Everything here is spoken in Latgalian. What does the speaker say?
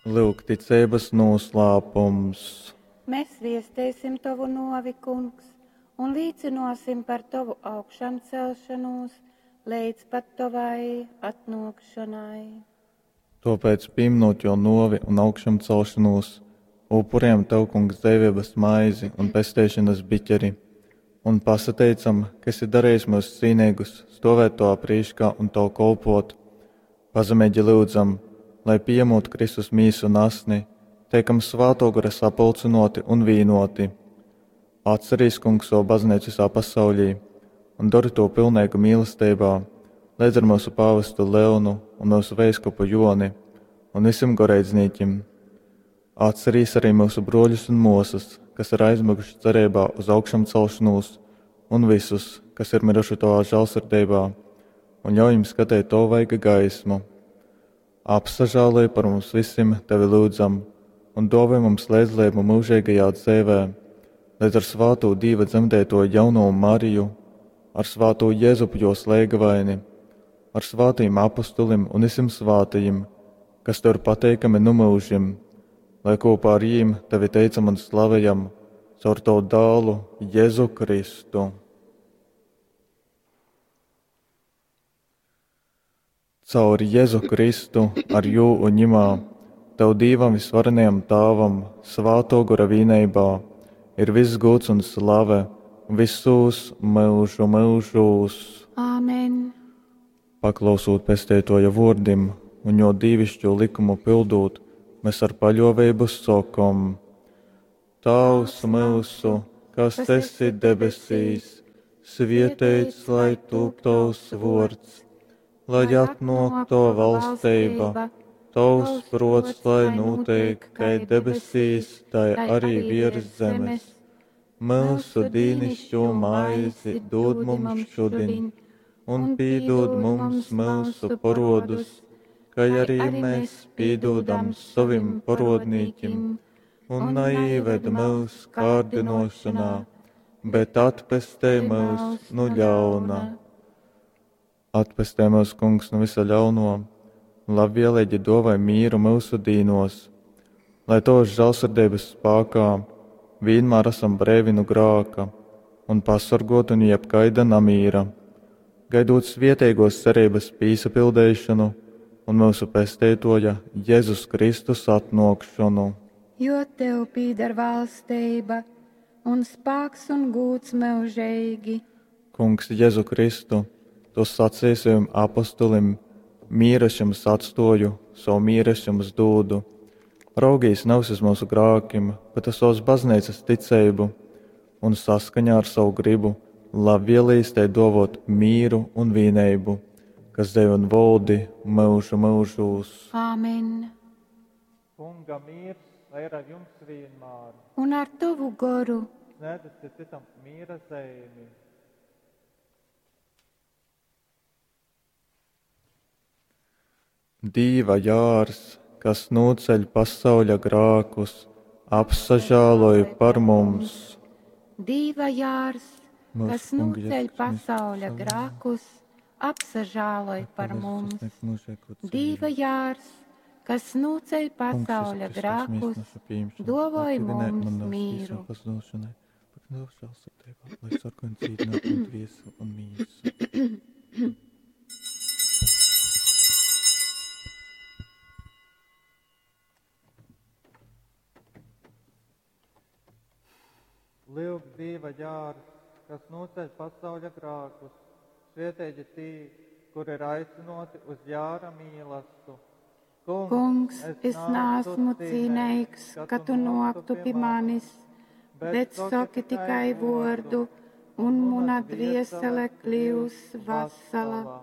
Lyuk ticeibas noslēpums. Mēs viestēsim tovu novi, kungs, un līcināsim par tovu augšāmcelšanos līdz pat tavai atnākšanai. Tāpēc, pieminot jo novi un augšāmcelšanos, upurējam tev, kungs, dzīvības maizi un pesteišanas biķeri, un pasateicam, ka esi darījis mūs cīnīgus stovēt tavā prīškā un tev kolpot. Pazemīgi lūdzam, lai pieņemot Kristus mīsu un asni, teikam svāto gara sapulcinoti un vīnoti. Atcerīs, kungs, savu baznīcu visā pasaulī un dari to pilnīgu mīlestībā, līdz ar mūsu pāvestu Leonu un mūsu veiskupu Joni un visiem goreidznīķim. Atcerīs arī mūsu broļus un mūsas, kas ir aizmiguši cerībā uz augšām celšanos, un visus, kas ir miruši tavā žēlsirdībā, un ļauj viņiem skatīt tavu vaiga gaismu. Apsažāloj par mums visiem, tevi lūdzam, un dāvā mums līdzdalību mūžīgajā dzīvē, līdz ar svāto Dieva dzemdēto jauno Mariju, ar svāto Jēzupu jo slēgavaini, ar svātajiem apustulim un visiem svātajiem, kas tev ir pateikami nu mūžim, lai kopā ar jīm tevi teicam un slavējam caur tavu dālu Jēzu Kristu. Caur Jēzu Kristu, ar jū un ņimā, tev Dīvam visvarenajam Tāvam, svāto gora vīneibā, ir viss gūts un slave visos mūžu mūžos. Āmen! Paklausot pestētoja vārdim un jo dīvišķo likumu pildot, mēs ar paļovību sokom: Tavs mūsu, kas esi debesīs, svietēts lai tūp tavs vārds, lai atnāk tava valstība, tavs prots, lai notiek, kai debesīs, tai arī virs zemes. Mūsu dīnišķo maizi dod mums šodien, un pīdod mums mūsu parodus, kā arī mēs pīdodam savim parodnīķim, un naieved mūs kārdinošanā, bet atpestē mūs no ļauna. Atpestē mūs, kungs, no visa ļauno, un labvēlīgi dovai mīru mūsu dīnos, lai tavas žēlsirdības spēkā vienmēr esam brīvi no grāka un pasargoti no jebkaida namīra, gaidot svietīgos cerības pīsapildīšanu un mūsu pesteitoja Jēzus Kristus atnākšanu. Jo tev pīdar valstība un spēks un gūts mūžīgi. Kungs Jēzu Kristu, tu sacīji saviem apostulim, mieru es jums atstoju, savu mieru es jums dūdu. Raugīs nevis uz mūsu grākim, bet uz savas baznīcas ticību un saskaņā ar savu gribu labvēlīs tai dovot mīru un vīneibu, kas dēļ un valdi mūžu mūžūs. Āmen! Kunga miers, lai ir ar jums vienmēr. Un ar tavu goru. Sniedzat citam miera zīmi. Dīva jārs, kas nūceļ pasauļa grākus, apsažāloj par mums. Dīva jārs, Mūsu kas Kunga nūceļ Jēzus Kristus, pasauļa savu grākus, apsažāloj par mums. sasniegt mūžīgo dzīvi. Dīva jārs, kas nūceļ Kungs, Jēzu pasauļa Kristus, grākus, mīsu našu pieņemšanu, dovoj atdzīvinē mums man nāves mīru. tīsām pazudušanai, par tavu žēlsirdību, lai sargātu un dzīvinātu un dvieseli un mīsu. Lūk, Dieva jārs, kas noceļ pasauļa grākus, svietēji tī, kur ir aicinoti uz jāra mīlastu. Kungs, es neesmu cīnīgs, ka tu noktu pie manis, bet saki tikai vārdu, un mana dviesele kļūs vesela.